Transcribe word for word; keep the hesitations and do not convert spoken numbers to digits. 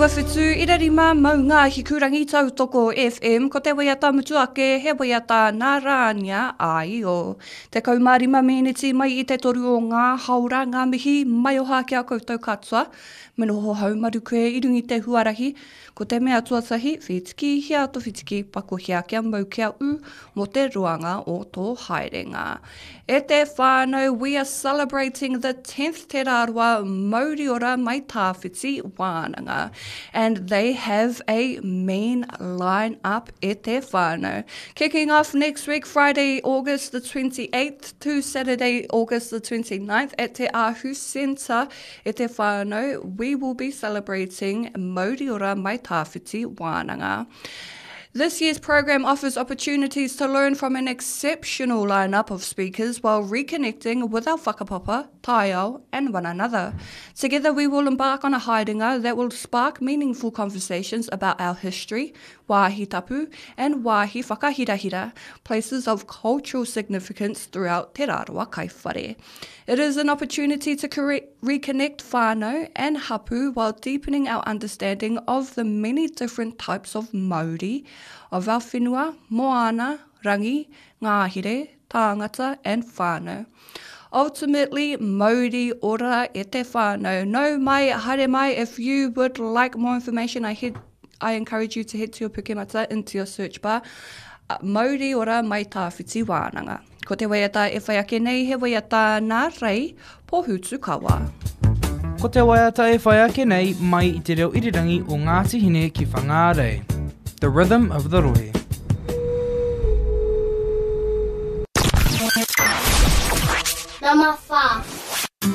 Iwa whitu ira rima maunga hikurangi tautoko FM ko te waiata mutu ake he waiata nā Rānia Aio. Tekau mā rima meneti mai i te toru o ngā haora ngā mihi maioha ki a koutou katoa. Me noho haumaru koe i runga i te huarahi. Ko te mea tuatahi, whitiki hia to whitiki, pakohia kia mau kia ū mō te roanga o tō haerenga. E te whānau, we are celebrating the tenth Te Rarawa Mauriora Mai Tawhiti Wānanga. And they have a mean line up e te whānau. Kicking off next week, Friday, August the twenty-eighth to Saturday, August the twenty-ninth at Te Ahu Centre e te whānau, we will be celebrating Mauriora Mai Tawhiti Wānanga. This year's program offers opportunities to learn from an exceptional lineup of speakers while reconnecting with our whakapapa, taiao, and one another. Together we will embark on a haerenga that will spark meaningful conversations about our history, wāhi tapu, and wāhi whakahirahira, places of cultural significance throughout Te Rarawa Kaiwhare. It is an opportunity to corre- reconnect whānau and hapu while deepening our understanding of the many different types of mauri of our whenua, moana, rangi, ngāhere, tāngata and whānau. Ultimately, mauri ora e te whānau. Nau mai, haere mai, if you would like more information, I, head, I encourage you to head to your Pukemata into your search bar. Uh, Mauri ora mai tawhiti wānanga. Ko te waiata e whai ake nei he waiata nā Rei Pohutukawa. Ko te waiata e whai ake nei mai i te reo irirangi o Ngāti Hine ki Whangārei. The Rhythm of the Rohe.